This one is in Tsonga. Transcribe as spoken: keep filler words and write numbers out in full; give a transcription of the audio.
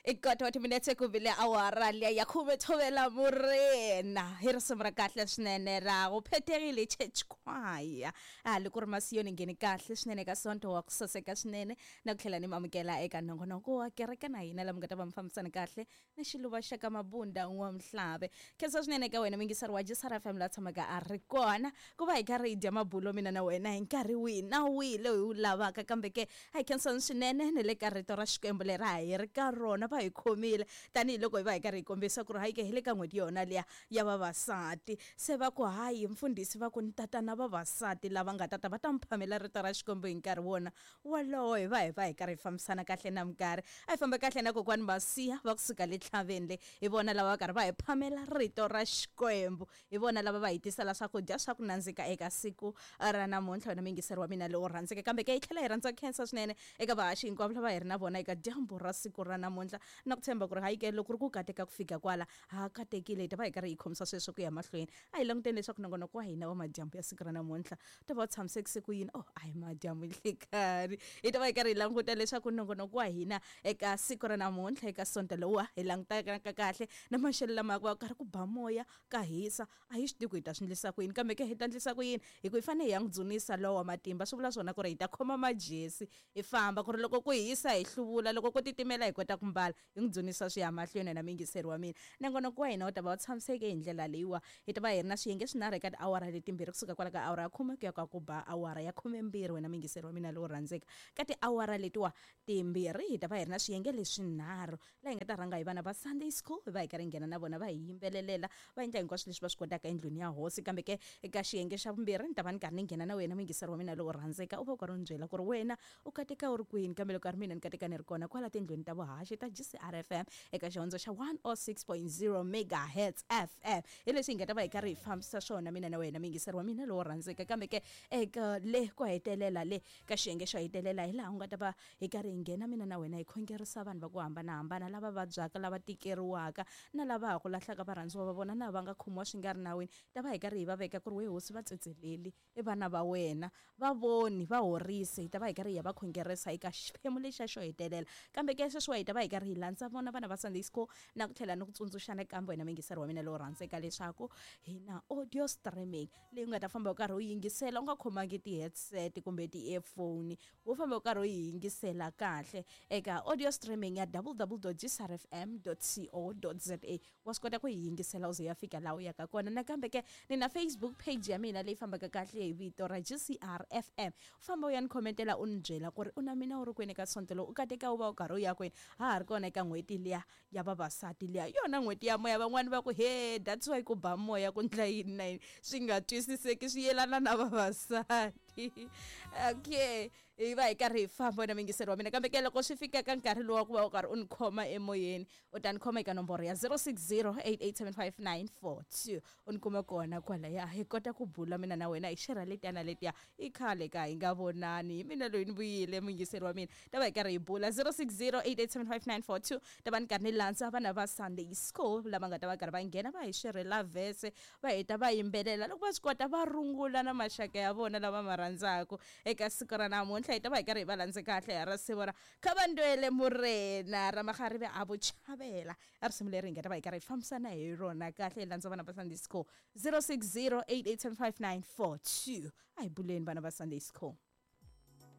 I kota wa timinetse ku bile awara liya ya khume thovela murena hi risimu ra kahle swinene ra ku phethekile church choir a loko ri masiyoni ngheni kahle swinene ka sonto wa ku saseka swinene na ku tlhela ni mamukela eka nongonoko wa kereke na hina lama nga ta va mi fambisana kahle na xiluva xa ka mabunda wa mhlave. Khensa swinene ka wena mingisari wa G C R F M la tshamaka a ri kona ku va hi karhi hi dya mabulo mina na wena hi nkarhi wihi na wihi lowu hi wu lavaka, kambe ke a hi khensani swinene ni le ka rito ra Xikwembu leri a hi ri ka rona va hi khomile tanihiloko hi va hi karhi hi kombisa ku ri hayi ke hi le ka n'hweti yona liya ya vavasati. Se va ku hayi mfundhisi va ku ni tatana vavasati lava nga tata va ta mi phamela rito ra Xikwembu hi nkarhi wona wolowo, hi va hi va hi karhi hi fambisana kahle na minkarhi. A hi famba kahle na kokwani Masiya va kusuka le tlhaveni le, hi vona lava va karhi va hi phamela rito ra Xikwembu, hi vona lava va hi tisela swakudya swa ku nandzika eka siku ra namuntlha. Wena mingiseri wa mina lowu rhandzeke, kambe ke hi tlhela hi rhandza ku khensa swinene eka vahaxi hinkwavo lava hi ri na vona eka dyambu ra siku ra namuntlha, na ku tshemba ku ri hayi ke loko ri ku kateka ku fika kwala ha katekile, hi ta va hi karhi hi khomisa sweswo ku ya mahlweni. A hi languteni leswaku nongonoko wa hina wa madyambu ya siku ra namuntlha ta va u tshamisekise ku yini. Oh, a hi madyambu nhlikani, hi ta va hi karhi hi languta leswaku nongonoko wa hina eka siku ra namuntlha eka sonto lowuwa hi langutaka kahle na maxelo lama ku va karhi ku ba moya ka hisa, a hi swi tivi ku hi ta swi endlisa ku yini, kambe ke hi ta endlisa ku yini hi ku hi fanele hi ya n'wi dzunisa lowa matimba. Swi vula swona ku ri hi ta khoma majesi hi famba, ku ri loko ku hisa hi hluvula, loko ku titimela hi kota ku mbala, hi n'wi dzunisa swi ya mahlweni. Na mingiseri wa mina, nongonoko wa hina wu ta va wu tshamiseke hi ndlela leyiwa, hi ta va hi ri na swiyenge swinharhu eka tiawara letimbirhi kusuka kwala ka awara ya khume ku ya ka ku ba awara ya khumembirhi. Wena mingiseri wa mina lowu rhandzeka, ka tiawara letiwa timbirhi hi ta va hi ri na swiyenge leswinharhu laha hi nga ta rhanga hi vana va Sunday school, hi va hi karhi hi nghena na vona va hi yimbelelela va endla hinkwaswo leswi va swi kotaka endlwini ya hosi. Kambe ke eka xiyenge xa vumbirhi ni ta va ni karhi ni nghena na wena mingiseri wa mina lowu rhandzeka, u va u karhi u ni byela ku ri wena u kateka u ri kwini, kambe loko a ri mina ni kateka ni ri kona kwala tindlwini ta vuhaxi ta G C R F M eka xihondzo xa one oh six point zero megahertz F M. Hi leswi hi nga ta va hi karhi hi fambisa swona mina na wena mingiseri wa mina lowu rhandzeka. Kambe ke eka le ku hetelela le ka xiyenge xo hetelela hi laha u nga ta va hi karhi hi nghena mina na wena hi khongerisa vanhu va ku hambanahambana lava vabyaka, lava tikeriwaka na lava ha ku lahlaka varhandziwa va vona na va nga khomiwa swi nga ri nawini. Ta va hi karhi hi va veka ku ri we hosi va tsetseleli i vana va wena, va voni va horise. Hi ta va hi karhi hi ya va khongerisa eka xiphemu lexiya xo hetelela. Kambe ke sweswiwa hi ta va hi karhi hi landza vona vana va Sunday school na ku tlhela ni ku tsundzuxana kambe wena mingiseri wa mina lowu rhandzeka leswaku hi na audio streaming leyi u nga ta famba u karhi u yingisela u nga khomangi ti-headset kumbe ti-earphone, wo famba u karhi u yi yingisela kahle eka audio streaming ya w w w dot g c r f m dot co dot z a. Wa swi kota ku yi yingisela u ze ya fika laha u yaka kona. Nakambe ke ni na Facebook page ya mina leyi fambaka kahle hi vito ra G C R F M, u famba u ya ni khomentela u ni byela ku ri u na mina u ri kwini ka sonto lowu, u kateka u va u karhi u ya kwini. Ha ha ri kona eka n'hweti liya ya vavasati liya, yona n'hweti ya moya. Van'wani va ku he that's why ku ba moya ku ndla yini na yini swi nga twisiseki swi yelana na vavasati. Okay, hi va hi karhi hi famba wena mingiseri wa mina. Kambe ke loko swi fika ka nkarhi lowu wa ku va u karhi u ni khoma emoyeni, u ta ni khoma eka nomboro ya zero six zero eight eight seven five nine four two, u ni kuma kona kwalaya hi kota ku bula mina na wena hi xerha letiya na letiya i khale ka hi nga vonani. Hi mina loyi ni vuyile mingiseri wa mina, ta va hi karhi hi bula zero six zero eight eight seven five nine four two. Ta va ni karhi ni landza vana va Sunday school lava nga ta va karhi va nghena va hi xerhela vhese, va heta va yimbelela, loko va swi kota va rungula na maxaka ya vona lava ma rhandzaka eka siku ra namuntlha. Hi ta va hi karhi hi va landze kahle hi risimu ra Khavandwele Murena ra Magharibi a Vuchavela, a risimu leri hi nga ta va hi karhi hi fambisana hi rona kahle. Hi landza vana va Sunday school zero six zero eight eight seven five nine four two. A hi buleni vana va Sunday school.